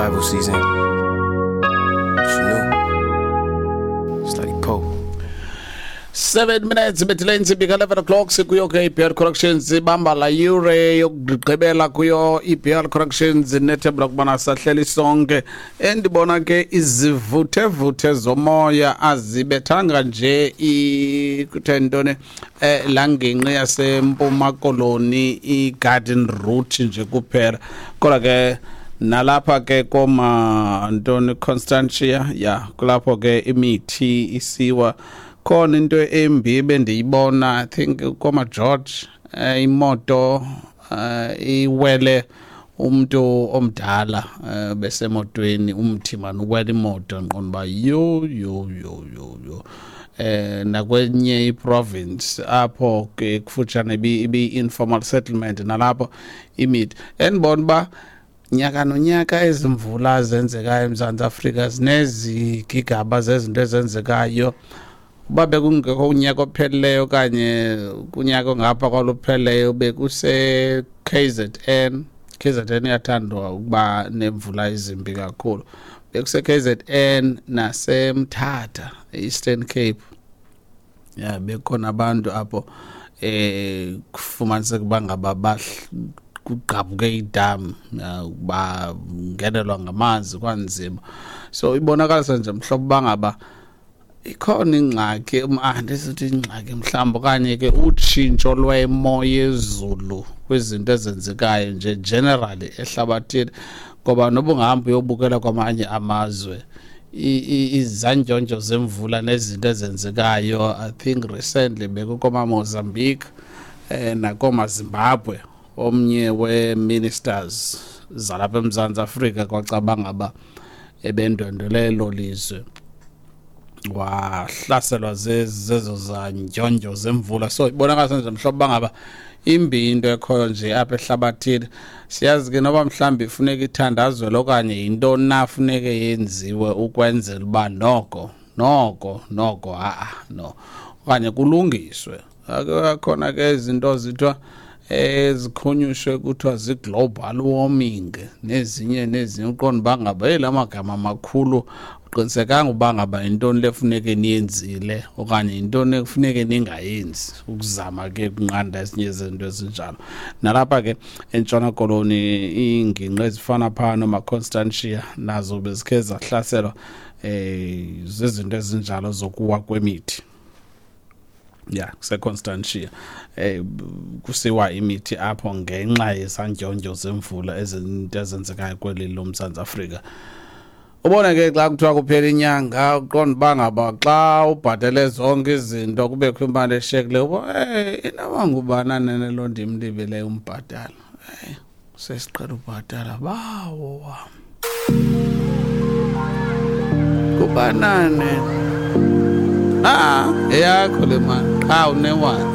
Survival season. It's new. Slutty Pope. 7 minutes ibethile intsimbi ka-11 o'clock. Sikuyo ke i-BR Corrections, ibamba la yure yokugqibela kuyo i-BR Corrections. Nethemba lokubana sahleli sonke. Endibona ke izivuthevuthe zomoya azibethanga nje kuthe ntoni, laa ngingqi yaseMpuma Koloni, i-Garden Route nje kuphela, kodwa ke nalapha ke koma ntoni, Constantia, ya, kulapho ke imithi isiwa khona. Into embi bendiyibona, I think koma George, imoto iwele umuntu omdala, besemotweni, umthi man uwele imoto. Nqonda uba yo yo yo yo yo. Nakwenye iprovince apho ke kufutshane ibi informal settlement, nalapho imithi. Endibona uba nyaka nonyaka ezi mvula zenzekayo eMzantsi Afrika zinezigigaba zezinto ezenzekayo. Uba bekungekho unyaka ophelileyo okanye kunyaka ongapha kwalupheleleyo, bekuse KZN. KZN iyathandwa ukuba nemvula ezimbi kakhulu. Bekuse KZN naseMthatha, Eastern Cape, ya, bekhona abantu apho kufumaniseka uba ngaba kugqabhuke idam, bangenelwa ngamanzi, kwanzima. So ibonakalisa nje mhlobo uba ngaba ikhona ingxaki, andisithi ingxaki mhlawumbi, okanye ke utshintsho lwemo yezulu kwizinto ezenzekayo nje generally ehlabathini, ngoba noba ungahamba uyobukela kwamanye amazwe izandyondyo zemvula nezinto ezenzekayo. I think recently bekukoma Mozambique nakoma Zimbabwe, omnye we-ministers zalapha eMzantsi Afrika kwacabanga uba ebendwendwele elo lizwe, wahlaselwa zezo zandyondyo zemvula. So ibonakala nje mhlobo bangaba imbi into ekhoyo nje apha ehlabathini. Siyazi ke noba mhlawumbi ifuneka ithandazwele okanye yintoni na funeke yenziwe ukwenzela uba noko noko noko ha-a no, okanye kulungiswe. Akhona ke izinto zithiwa ezikhonyushwe kuthiwa zi-global warming nezinye nezinye. Uqonda uba ngaba eli amagama amakhulu, uqinisekanga uba ngaba yintoni le funeke niyenzile okanye yintoni ekufuneke ningayenzi ukuzama ke ukunqanda ezinye izinto ezinjalo. Nalapha ke eNtshona Koloni, iingingqi ezifana phaa nomaConstantia nazo bezikhe zahlaselwa zizinto ezinjalo zokuwa kwemithi. Ya, kuseConstantia kusiwa imithi apho ngenxa yesandyondyo zemvula, ezinto ezenzekayo kweli loMzantsi Afrika. Ubone ke xa kuthiwa kuphela inyanga, uqonda uba ngaba xa ubhatele zonke izinto kubekho imali eshiyekileyo, uba inoba ngubani nene loo ndimlibeleyo umbhatala? Sesiqhela ubhatala, bawo wam, kubanane eyakho le mali qha unewani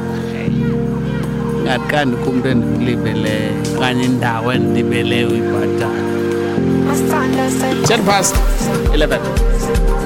ngathi kumntu endimlibeleyo okanye indawo endilibeleyo uyibhatala. 11:10.